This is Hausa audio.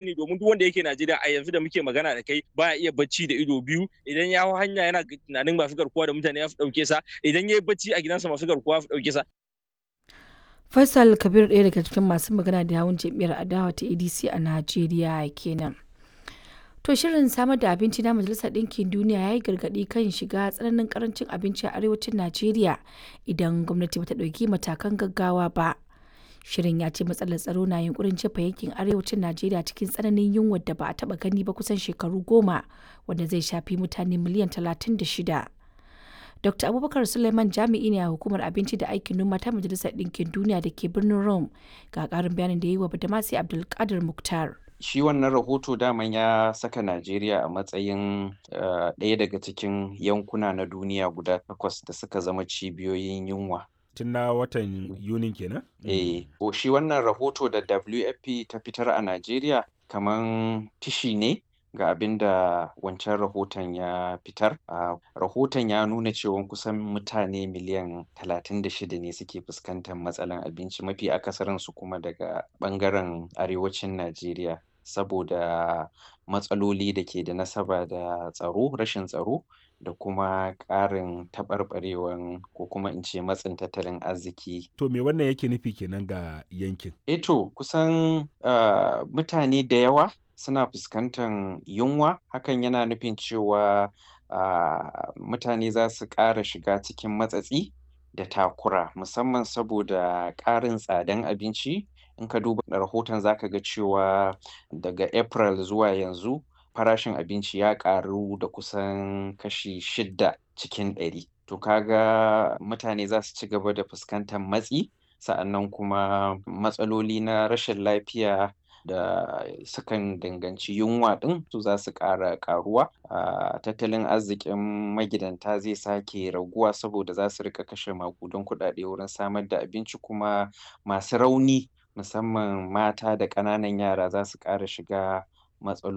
Sani, domin duk wanda yake Najeriya a yanzu da muke magana da kai baya iya bacci da ido biyu. Idan ya hau hanya, yana tunanin masu garkuwa da mutane ya su dauke sa. Idan ya yi bacci a gidansa, masu garkuwa su dauke sa. Faisal Kabir, ɗaya daga cikin masu magana da yawun jam'iyyar adawa ta ADC a Najeriya kenan. To, shirin samar da abinci na Majalisar Ɗinkin Duniya ya yi gargaɗi kan shiga tsananin karancin abinci a arewacin Najeriya idan gwamnati bata ɗauki matakan gaggawa ba. Shirin ya ce matsalar tsaro na yunkurin jefa yankin arewacin Najeriya cikin tsananin yunwar da ba a taɓa gani ba kusan shekaru 10, wanda zai shafi mutane miliyan 36. Dr. Abubakar Suleiman jami'i ne a hukumar abinci da aikin noma ta Majalisar Ɗinkin Duniya da ke birnin Rome, ga ƙarin bayanin da ya yi wa Badamasi Abdulkadir Muktar. Shi wannan rahoto daman ya saka Najeriya a matsayin ɗaya daga cikin yankuna na duniya guda takwas da suka zama cibiyoyin yunwa. Tun na watan Yunin kenan? Eh, shi wannan rahoto da WFP ta fitar a Najeriya kaman tishi ne ga abin da wancan rahoton ya fitar. Rahoton ya nuna cewa kusan mutane miliyan 36 ne suke fuskantar matsalan abinci, mafi akasarinsu kuma daga ɓangaren arewacin Najeriya, saboda matsaloli da ke da nasaba da tsaro, rashin tsaro da kuma ƙarin taɓarɓarewan, ko kuma in ce matsin tattalin arziki. To, me wannan yake nufi kenan ga yankin? Eh to, kusan mutane da yawa suna fuskantar yunwa. Hakan yana nufin cewa mutane za su ƙara shiga cikin matsatsi da takura, musamman saboda ƙarin tsadan abinci. In ka duba rahoton, za ka ga cewa daga April zuwa yanzu farashin abinci ya ƙaru da kusan kashi 6%. To, ka ga mutane za su ci gaba da fuskantar matsi, sa'annan kuma matsaloli na rashin lafiya da sukan danganci yunwa ɗin su za su ƙara ƙaruwa. Tattalin arzikin magidanta zai sake raguwa saboda za su riƙa kashe maƙudan kuɗaɗe wurin samar da abinci, kuma masu rauni, musamman mata da ƙananan yara, za su ƙara shiga matsaloli.